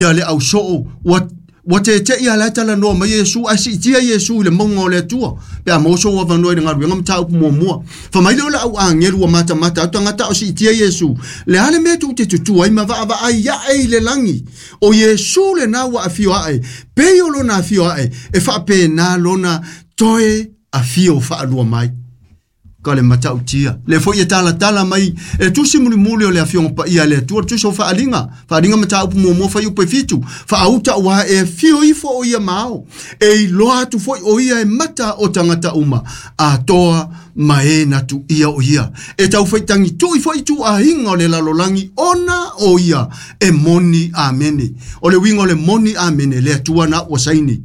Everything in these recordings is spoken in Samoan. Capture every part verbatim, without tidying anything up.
Le au soo ua ua tete'i a lae talanoa mai Iesu ae siitia Iesu i le mauga o le Atua pe a maua sou avanoa i le galuega mataupu muamua. Fai mai lea o le au agelu ua matamata atu tagata o siitia Iesu, le a le mea tou te tutu ai ma vaavaai ae i le lagi? O Iesu lenā ua afio ae, pei o lona afio ae e faapena lona toe afio faalua mai. Ka le matautia le foi e talatala mai e tusi mulimuli o le afioga paia a le Atua, le tusi o Faaaliga, Faaaliga mataupu muamua fuaiupu e fitu, faauta ua e afio ifo o ia ma ao e iloa atu foi o ia e mata o tagata uma atoa ma e na tuia o ia e tau faitagitu'i foi ituaiga o le lalolagi ona o ia e moni. Amene. O le uiga o le moni amene, le Atua na ua saini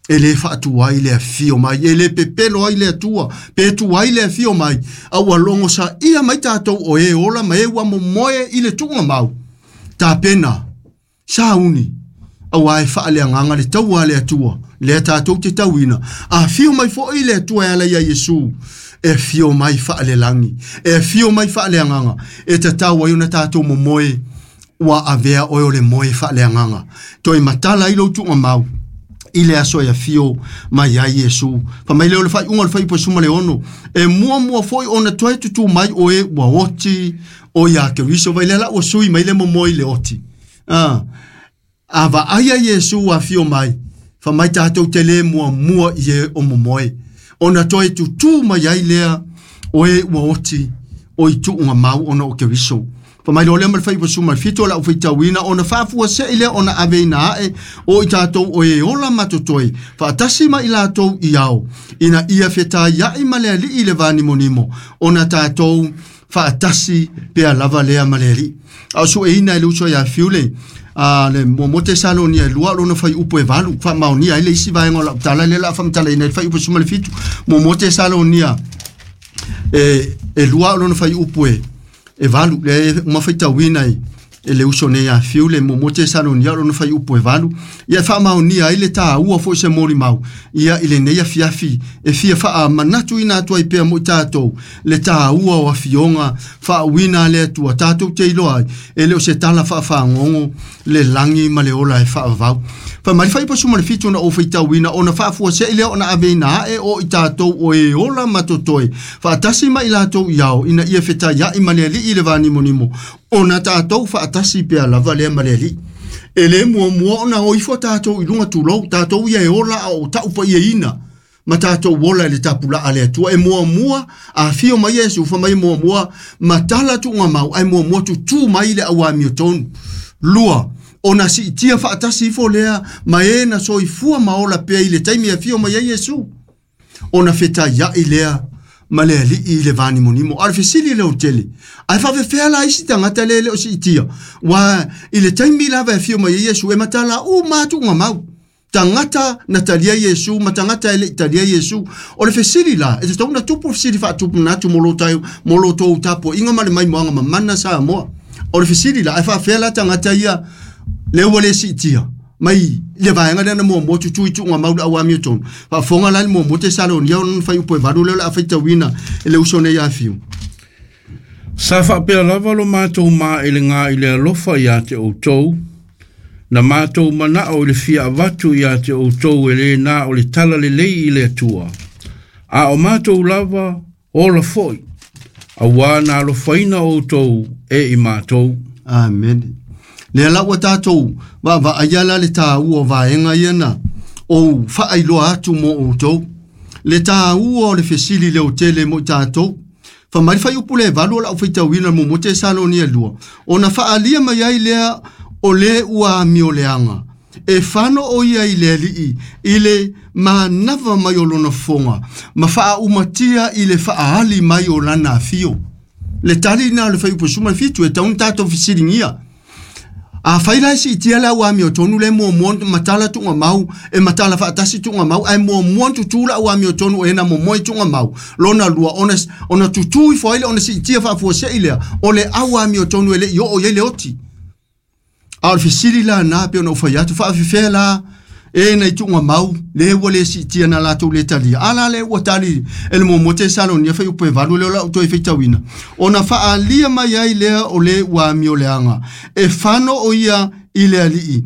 e lē faatuai le afio mai, e lē pepelo ai le Atua pe tuai le afio mai, a ua logo saia mai tatou o e ola ma e ua momoe i le tuuga mau tapena sauni auā e faaleagaga le taua a le Atua lea tatou te tauina. Afio mai foʻi le Atua e ala ia Iesu, e afio mai faalelagi, e afio mai faaleagaga, e tatau ai ona tatou momoe. Ua avea oe o le moe faaleagaga toe matala ai lou tuuga mau i le aso e afio mai ai Iesu. Fa mai lea o le faaiuga o le fuaiupu e sefulu ma le ono, e muamua foi ona toe tutū mai o e ua oti o ia Keriso. Vai lea la ua sui mai le momoe i le oti. Ah, a vaaia Iesu afio mai, fa mai tatou te lē muamua i e o momoe ona toe tutū mai ai lea o e ua oti o i tuuga mau ona o Keriso. Fa mai lo lea ma le fuaiupu sefulu ma le fitu o lau faitauina, ona faafuase'i lea ona aveina ae o i tatou o e ola ma totoe faatasi ma i latou i ao ina ia fetaia'i ma le Ali'i i le vanimonimo, ona tatou faatasi pea lava lea ma le Ali'i. A o sueina e le uso ia Fiule a le muamua Tesalonia e lua lona fuaiupu e valu faamaonia ai le isi vaega o lau tala lea la faamatalaina i le fuaiupu sefulu ma le fitu. Muamua Tesalonia e e lua lona fuaiupu e e valu le uma faitauina i e le uso nei a Fiule. Muamua Tesalonia lona fuaiupu e valu ia faamaonia ai le taua foi se molimau ia i lenei afiafi e fia faamanatuina atu ai pea mo i tatou le taua o afioga faauina a le Atua tatou te iloa ai e le o se tala faafagogo le lagi ma le ola e faavavau. Fa mai fuaiupu sefulu ma le fitu na ou faitauina, ona faafuase'i lea ona aveina ae o i tatou o e ola ma totoe faatasi ma i latou i ao ina ia fetaia'i ma le Ali'i i le vanimonimo, ona tatou faatasi pea lava lea ma le Ali'i. E lē muamua ona o ifo tatou i luga tulou tatou ia e ola a o ta'u pa'iaina ma tatou ola i le tapula'a le Atua. E muamua afio mai Iesu, fa mai muamua matala tuuga mau ae muamua tutū mai le auamiotonu. Lua, ona siitia faatasi ifo lea ma e na soifua ma ola pea i le taimi afio mai ai Iesu, ona fetaia'i lea ma le Ali'i i le vanimonimo. A o le fesili leo tele, ae faafefea la isi tagata le le o siitia? Ua i le taimi lava e afio mai ai Iesu e matala uma atuuga mau tagata na talia Iesu ma tagata e le'i talia Iesu. O le fesili la e tatau na tupu fesili faatupu natu mo lo tai mo lo tou tapua'iga ma le maimoaga mamana Samoa. O le fesili la, ae faafefea la tagata ia le ua le siitia mai le vaega lea na muamua tutui tuuga mau le auamiotonu? Faafofoga la le muamua Tesalonia ona fuaiupu e valu lea o le a faitauina e le uso nei afiu. Sa faapea lava lo matou maelega i le alofa iā te outou, na matou manao i le fia avatu iā te outou e lē na o le tala lelei i le Atua, a o matou lava ola foi, auā na alofaina outou e i matou. Amen. Lea la ua tatou vaavaaia la le tāua o vaega ia na ou faailoa atu mo outou le tāua o le fesili leo tele mo i tatou. Fa mai fuaiupu le valu o lau faitauina muamua Tesalonia lua, ona faaalia mai ai lea o le ua amioleaga e fano o ia i le Ali'i i le manava mai o lona fofoga ma faaumatia i le faaali mai o lana afio. Le tali na o le fuaiupu sefulu ma le fitu e tauna tatou fesiligia. A fai la e siitia le auamiotonu le muamua matala tuuga mau e matala faatasi tuuga mau ae muamua tutū le auamiotonu e na momoe tuuga mau lona lua ona, ona tutū ifo ai le ona siitia faafuase'i lea o le auamiotonu e le'i oo i ai le oti. A o le fesili la na pe ona ou fai atu, faafefea la e na i tuuga mau le ua le siitia na latou le talia? A la le ua tali e le muamua Tesalonia fuaiupu e valu lea o lau toe faitauina, ona faaalia mai ai lea o le ua amioleaga e fano o ia I le Alii.